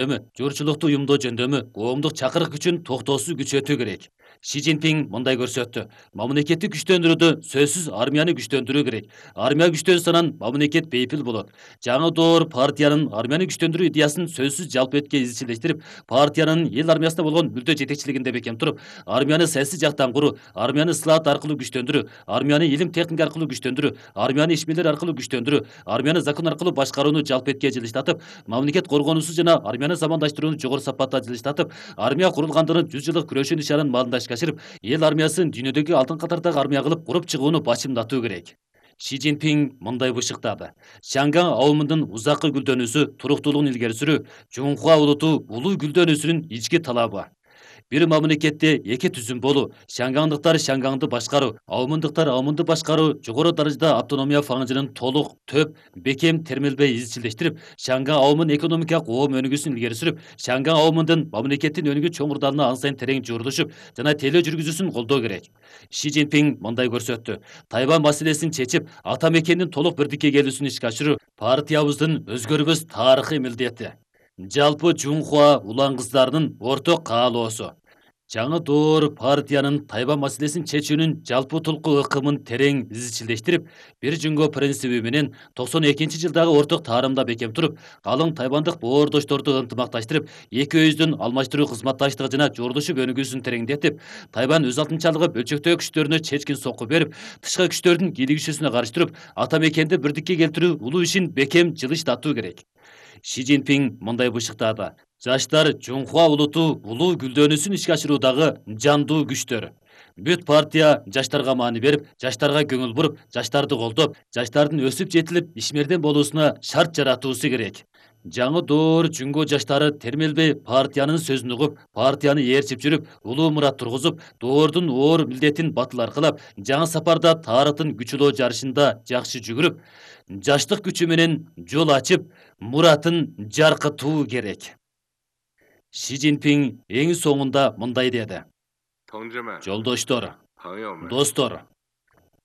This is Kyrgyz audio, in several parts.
Журчулукту уюмдоо жөндөмү коомдук чакырык күчүн токтоосуз күчөтүү керек. Си Цзиньпин мындай көрсөттү. Мамлекетти күчтөндүрүүдө сөзсүз армияны күчтөндүрүү керек. Армия күчтөнсө мамлекет бейпил болот. Жаңы доор партиянын армияны күчтөндүрүү идеясын сөзсүз жалпы этке изчилештирип, партиянын эл армиясына болгон мүлдө жетекчилигинде бекем туруп, армияны саясий жактан куруу, армияны ыслаат аркылуу күчтөндүрүү, армияны илим техника аркылуу күчтөндүрүү, армияны ишмерлер аркылуу күчтөндүрүү, армияны закон аркылуу башкарууну жалпы этке жылыштатып, мамлекет коргоонусу жана армияны замандаштырууну жогору сапатта жылыштатып, армия курулгандыгын 100 жылдык күрөшүү нишанын маалында ишке ашырып, эл армиясын дүйнөдөгү алдыңкы катардагы армия кылып куруп чыгууну башымдатуу керек. Си Цзиньпин мындай бышыктады. Шанган аумунун узаккы гүлдөнүүсү, туруктуулугун илгери сүрүү Чуңхуа улуту улуу гүлдөнүүсүнүн ички талабы. Бир мамлекетте эки түзүм болуу, шангандыктар шанганды башкаруу, аумундуктар аумунду башкаруу жогору даражада автономия фаңжынын толук, төп, бекем термелбей изчилештирип, шанган аумун экономикалык оом өнүгүүсүн илгери сүрүп, шанган аумундун мамлекеттин өнүгүү чоңурдарына ан сайын терең жуурдушуп жана тейлөө жүргүзүүсүн колдоо керек. Си Цзиньпин мындай көрсөттү. Тайвань маселесин чечип, ата мекендин толук бирдикке келүүсүн ишке ашыруу партиябыздын өзгөрбөс тарыхый милдети. Жалпы Чуңхуа улан кыздарынын орток каалоосу. Жаңы доор партиянын Тайвань маселесин чечүүнүн жалпы тулку ыкымын терең изчилештирип, бир жөнгө принциби менен 92-жылдагы орток таарымда бекем туруп, калың тайвандык боордошторду ынтымакташтырып, эки өздүн алмаштыруу кызматташтыгы жана журдушуп өнүгүүсүн тереңдетип, Тайвань өз алтынчалыгы бөлчөктөө күчтөрүнө чечкин сокку берип, тышкы күчтөрдүн кийлигишүүсүнө каршы туруп, ата мекенди бирдикке келтирүү улуу ишин бекем жылыштатуу керек. Си Цзиньпин мындай бышыктады. Жаштар Чуңхуа улуту улуу гүлдөнүүсүн ишке ашыруудагы жандуу күчтөр. Бүт партия жаштарга маани берип, жаштарга көңүл буруп, жаштарды колдоп, жаштардын өсүп жетилип, ишмерден болуусуна шарт жаратуусу керек. Жаңы доор Чуңго жаштары термелбей партиянын сөзүн угуп, партияны ээрчип жүрүп, улуу мурат тургузуп, доордун оор милдетин батыл аркылап, жаңы сапарда тарыхтын күчөлөө жарышында жакшы жүгүрүп, жаштык күчү менен жол ачып, муратын жаркытуу керек. Си Цзиньпин эң соңунда мындай деди. Жолдоштор, достор,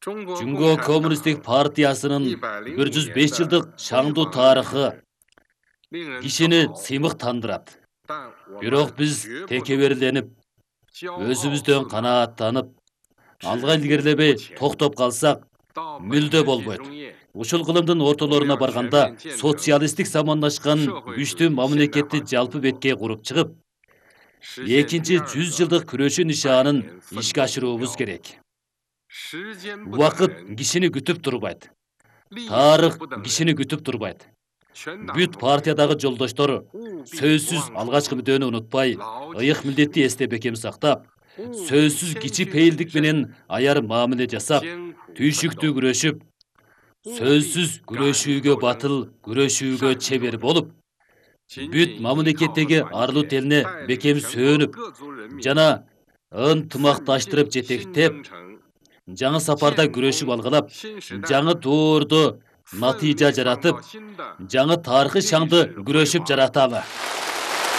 Чуңго коммунисттик партиясынын 105 жылдык шаңдуу тарыхы кишини сыймыктандырат. Бирок биз текеберленип, өзүбүздөн канааттанып, алга илгерилебей токтоп калсак, мүлдө болбойт. Ушул кылымдын ортолоруна барганда социалисттик замандашкан күчтүү мамлекетти жалпы бетке куруп чыгып, экинчи 100 жылдык күрөшүү нишаанын ишке ашыруубуз керек. Убакыт кишини күтүп турбайт. Тарых кишини күтүп турбайт. Бүт партиядагы жолдоштор сөзсүз алгачкы мүддөөнү унутпай, ыйык милдетти эсте бекем сактап, сөзсүз кичи пейилдик менен аяр мамиле жасап, түйшүктүү күрөшүп, сөзсүз күрөшүүгө батыл, күрөшүүгө чебер болуп, бүт мамлекеттеги арлуу телине бекем сөөнүп жана ынтымакташтырып жетектеп, жаңы сапарда күрөшүп алгалап, жаңы доордо натыйжа жаратып, жаңы тарыхый шаңды күрөшүп жараталы.